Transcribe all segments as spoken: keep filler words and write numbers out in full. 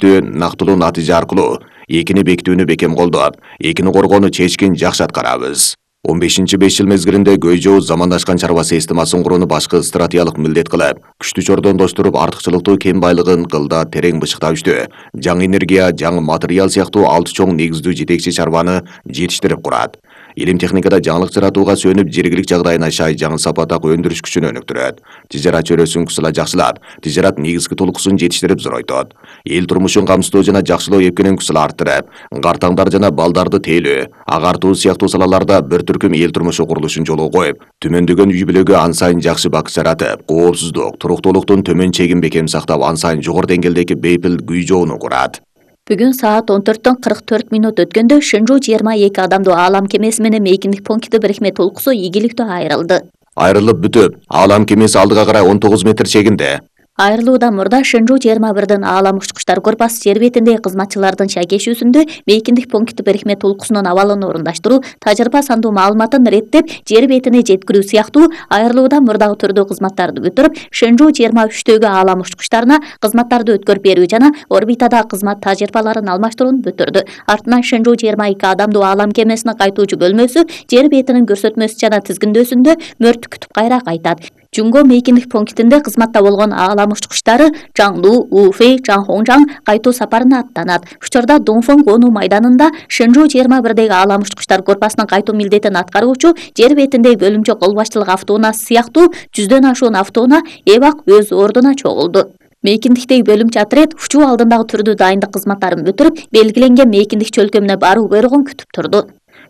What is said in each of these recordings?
нактылуу натыйжа аркылуу экини бекитүүнү бекем колдоп, экини коргоону чечкин жакшы аткарабыз. он бешинчи беш жыл мезгилинде көй жоо замандашкан чарба системасын курууну башкы стратегиялык милдет кылып, күчтү чордондоштуруп артыкчылыктуу кен байлыгын кылда терең бышыктап иштөө, жаңы энергия, жаңы материал сыяктуу алты чоң негиздүү жетекчи чарбаны жетиштирип курат. Илим техникада жаңылык жаратууга сөнүп, жергилик жагдайына шай жаңы сапатак өндүрүш күчүнө өнүктүрөт. Тижарат чөйрөсүн кысыла жакшылап, тижарат негизги толкусун жетиштирип зоройтот. Эл турмушун камсыздоо жана жакшылоо эпкенин кысыла арттырып, картаңдар жана балдарды тейлөө, агартуу сыяктуу салаларда бир түркүм эл турмушу курулушун жолго коюп, төмөндөгөн үй бүлөгө ан сайын жакшы бак жаратып, коопсуздук, туруктуулуктун төмөн чегин бекем сактап, ан сайын жогору деңгээлдеги бейпил күй жоону курат. Бүгүн саат он төрттөн кырк төрт минут өткөндө Шэнжу жыйырма эки адамдуу аалам кемеси менен мейкиндик пункти бирикме толкусу ийгиликтүү айрылды. Айрылып бүтүп, аалам кемеси алдыга карай он тогуз метр чегинде. Айрылуудан мурда Шэнжу жыйырма бирдин аалам учкучтар группасы жер бетиндеги кызматчылардын шайкешүүсүндө мейкиндик пункти бирикме толкусунун абалын орундаштыруу, тажрыйба сандуу маалыматын реттеп, жер бетине жеткирүү сыяктуу айрылуудан мурдагы түрдүү кызматтарды бүтүрүп, Шэнжу жыйырма үчтөгү аалам учкучтарына кызматтарды өткөрүп берүү жана орбитадагы кызмат тажрыйбаларын алмаштырууну бүтүрдү. Артынан Шэнжу жыйырма эки адамдуу аалам кемесинин кайтуучу бөлмөсү жер бетинин көрсөтмөсү жана тизгиндөөсүндө мөрттү күтүп кайра кайтат. Жунго мейкиндик пунктинде кызматта болгон аалам учкучтары Жаңду, Уфэй, Жаңхоңжаң кайтуу сапарына аттанат. Учурда Дунфэн конуу майданында Шэнжу жыйырма бирдеги аалам учкучтар группасынын кайтуу милдетин аткаруучу жер бетиндеги бөлүмчө кол башчылык автоунаасы сыяктуу жүздөн ашуун автоунаа эвак өз ордуна чогулду. Мейкиндиктеги бөлүмчө отряд учуу алдындагы түрдүү дайындык кызматтарын бүтүрүп, белгиленген мейкиндик чөлкөмүнө баруу буйругун күтүп турду.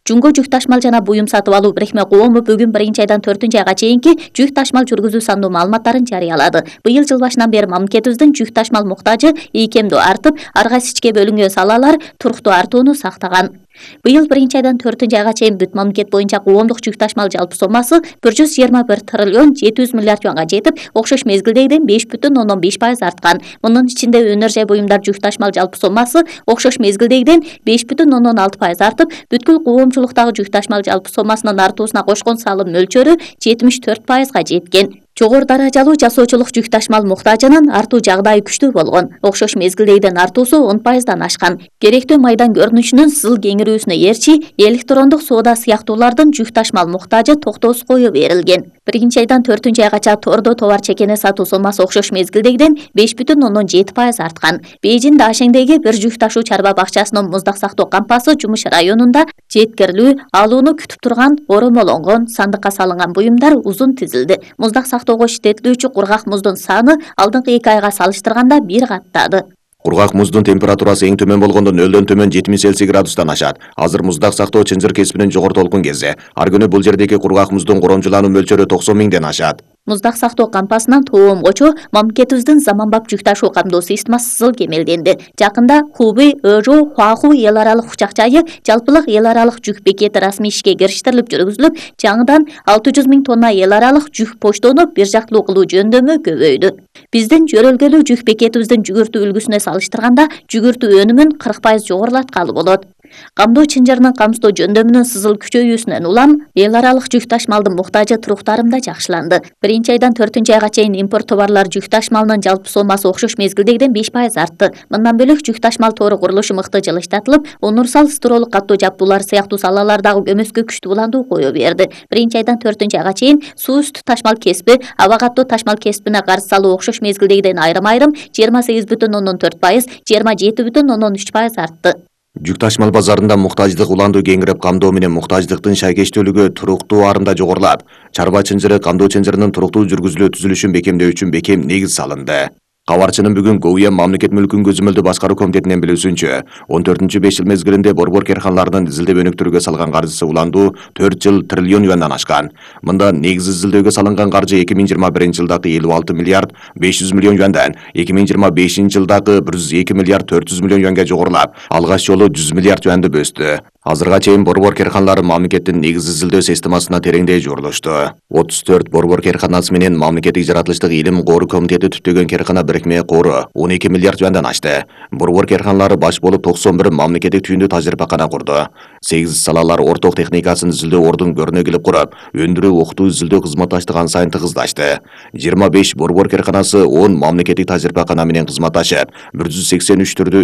Жунго жүк ташмал жана буюм сатып алуу бирикме коому бүгүн биринчи айдан төртүнчү айга чейинки жүк ташмал жүргүзүү сандуу маалыматтарын жарыялады. Быйыл жыл башынан бери мамлекетибиздин жүк ташмал муктажы ийкемдүү артып, ар кайсы ичке бөлүнгөн салалар туруктуу артууну сактаган. Быйыл биринчи айдан төртүнчү айга чейин бүт мамлекет боюнча коомдук жүк ташмал жалпы соммасы бир жүз жыйырма бир триллион жети жүз миллиард юанга жетип, окшош мезгилдегиден беш бүтүн ондон беш пайыз арткан. Мунун ичинде өнөр жай буюмдар жүк ташмал жалпы соммасы окшош мезгилдегиден беш бүтүн ондон алты пайыз артып, бүткүл коомчулуктагы жүк ташмал жалпы соммасынын артуусуна кошкон салым мөлчөрү жетимиш төрт пайызга жеткен. Жогору даражалуу жасоочулук жүк ташмал муктажынын артуу жагдайы күчтүү болгон. Окшош мезгилдегиден артуусу он пайыздан ашкан. Керектүү майдан көрүнүшүнүн сызыл кеңирүүсүнө ээрчи, электрондук соода сыяктуулардын жүк ташмал муктажы токтоосуз кое берилген. Биринчи айдан төртүнчү айгача тордо товар чекене сатуу соммасы окшош мезгилдегиден беш бүтүн ондон жети пайыз арткан. Бейжин Дашеңдеги бир жүк ташуу чарба бакчасынын муздак сактоо кампасы Жумуш районунда жеткирилүү, алууну күтүп турган оромолонгон, сандыкка салынган буюмдар узун тизилди. Муздак сактоого иштетилүүчү кургак муздун саны алдыңкы эки айга салыштырганда бир каттады. Кургак муздун температурасы эң төмөн болгондо нөлдөн төмөн жетимиш Цельсий градустан ашат. Азыр муздак сактоо чынжыр кесибинин жогору толкун кези. Ар күнү бул жердеги кургак муздун коромчулануу мөлчөрү токсон миңден ашат. Муздак сактоо кампасынан тоомгочу мамлекетибиздин заманбап жүк ташуу камдоо системасы сызыл кемелденди. Жакында Хубэй, Ыжоо, Хуаху эл аралык учак жайы жалпылык эл аралык жүк бекети расмий ишке кириштерилип жүргүзүлүп, жаңыдан алты жүз миң тонна эл аралык жүк почтону бир жактылуу кылуу жөндөмү көбөйдү. Биздин жөрөлгөлүү жүк бекетибиздин жүгүртүү үлгүсүнө салыштырганда жүгүртүү өнүмүн кырк пайыз жогорулаткалы болот. Камдоо чынжырынын камсыздоо жөндөмүнүн сызыл күчөйүүсүнөн улам эл аралык жүк ташмалдын муктажы туруктарым да жакшыланды. Биринчи айдан төртүнчү айга чейин импорт товарлар жүк ташмалынын жалпы соммасы окшош мезгилдегиден беш пайыз артты. Мындан бөлөк жүк ташмал тоору курулушу мыкты жылыштатылып, универсал строолук каттоо жаптуулар сыяктуу салалардагы көмөскө күчтүү улануу кое берди. Биринчи айдан төртүнчү айга чейин суу үстү ташмал кесиби, аба каттоо ташмал кесибине карыз салуу окшош мезгилдегиден айрым-айрым жыйырма сегиз бүтүн ондон төрт пайыз, жыйырма жети бүтүн ондон үч пайыз артты. Жүк ташмал базарында муктаждык уланду кеңирип, камдоо менен муктаждыктын шайкештүүлүгү туруктуу арымда жогорулап, чарба чынжыры камдоо чынжырынын туруктуу жүргүзүлүү түзүлүшүн бекемдөө үчүн бекем негиз салынды. Кабарчынын бүгүн Гоуя мамлекет мүлкүн көзөмөлдөө башкаруу комитетинен билүүсүнчө, он төртүнчү беш жыл мезгилинде борбор керканалардын изилдеп өнүктүрүүгө салган каржысы уланду төрт жыл триллион юандан ашкан. Мында негиз изилдөөгө салынган каржы эки миң жыйырма биринчи жылдагы элүү алты миллиард беш жүз миллион юандан эки миң жыйырма бешинчи жылдагы бир жүз эки миллиард төрт жүз миллион юанга жогорулап, алгач жолу жүз миллиард юанды өстү. Азырга чейин борбор керканалары мамлекеттин негиз изилдөө системасына тереңдей журулушту. отуз төрт борбор керканасы менен мамлекеттик жаратылыштык илим кору комитети түптөгөн керкана бирикме кору он эки миллиард юандан ашты. Борбор керканалары баш болуп токсон бир мамлекеттик түйүндүү тажрыйбакана курду. сегиз салалар орток техникасын изилдөө ордун көрүнө келип куруп, өндүрүү, окутуу, изилдөө кызматташтыгы ан сайын тыгыздашты. жыйырма беш борбор керканасы он мамлекеттик тажрыйбакана менен кызматташып, бир жүз сексен үч түрдүү